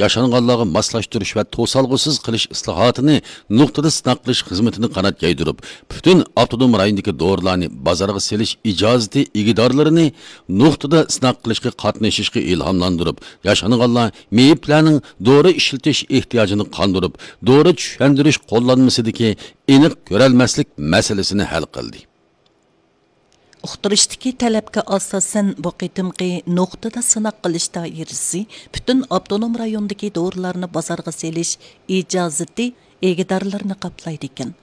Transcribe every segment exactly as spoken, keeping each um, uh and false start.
ياشانغانلارغا ماسلاشتۇرۇش ۋە توسالغۇسىز قىلىش ئىسلاھاتىنى نۇقتىدا سىناق قىلىش خىزمىتىنى قانات يايدۇرۇپ، پۈتۈن ئاپتونوم رايوندىكى دورىلارنى بازارغا سېلىش ئىجازىتى ئىگىدارلىرىنى نۇقتىدا سىناق قىلىشقا قاتنىشىشقا ئىلھاملاندۇرۇپ، ياشانغانلار مېيىپلەرنىڭ دورا ئىشلىتىش ئېھتىياجىنى قاندۇرۇپ، دورا چۈشەندۈرۈش قوللانمىسىدىكى ئېنىق كۆرەلمەسلىك مەسىلىسىنى ھەل قىلدى. ئۇقتۇرۇشتىكى تەلەپكە ئاساسەن، بۇ قېتىمقى نۇقتىدا سىناق قىلىش دائىرىسى پۈتۈن ئاپتونوم رايوندىكى دورىلارنى بازارغا سېلىش ئىجازىتى ئىگىدارلىرىنى قاپلايدىكەن.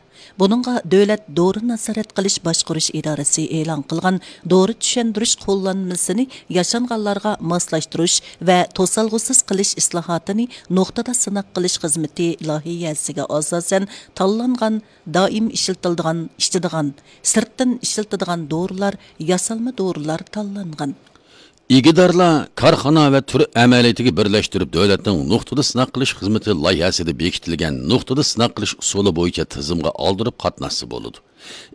بۇنىڭغا دۆلەت دورا نازارەت قىلىش باشقۇرۇش ئىدارىسى ئېلان قىلغان دورا چۈشەندۈرۈش قوللانمىسىنى ياشانغانلارغا ماسلاشتۇرۇش ۋە توسالغۇسىز قىلىش ئىسلاھاتىنى نۇقتىدا سىناق قىلىش خىزمىتى لايىھەسىگە ئاساسەن تاللانغان دائىم ئىشلىتىلىدىغان، ئىچىدىغان، سىرتتىن ئىشلىتىدىغان دورىلار، ياسالما دورىلار تاللانغان. ئىگىدارلار كارخانا ۋە تۈر ئەمەلىيىتىگە بىرلەشتۈرۈپ، دۆلەتنىڭ نۇقتىدا سىناق قىلىش خىزمىتى لايىھەسىدە بېكىتىلگەن نۇقتىدا سىناق قىلىش ئۇسۇلى بويىچە تىزىمغا ئالدۇرۇپ قاتناشسا بولىدۇ.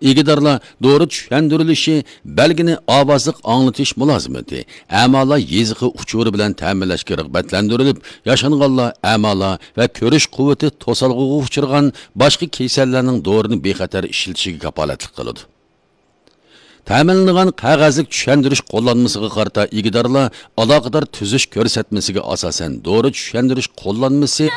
ئىگىدارلار دورا چۈشەندۈرۈلۈشى بەلگىنى ئاۋازلىق ئاڭلىتىش مۇلازىمىتى، ئەمالار يېزىقى ئۇچۇرى بىلەن تەمىنلەشكە رىغبەتلەندۈرۈلۈپ، ياشانغانلار، ئەمالار ۋە كۆرۈش قۇۋۋىتى توسالغۇغا ئۇچرىغان باشقا كېسەللەرنىڭ دورىنى بىخەتەر ئىشلىتىشىگە كاپالەتلىك قىلىدۇ. تەمىنلىنىدىغان قەغەزلىك چۈشەندۈرۈش قوللانمىسىغا قارىتا ئىگىدارلار ئالاقىدار تۈزۈش كۆرسەتمىسىگە ئاساسەن دورا چۈشەندۈرۈش قوللانمىسى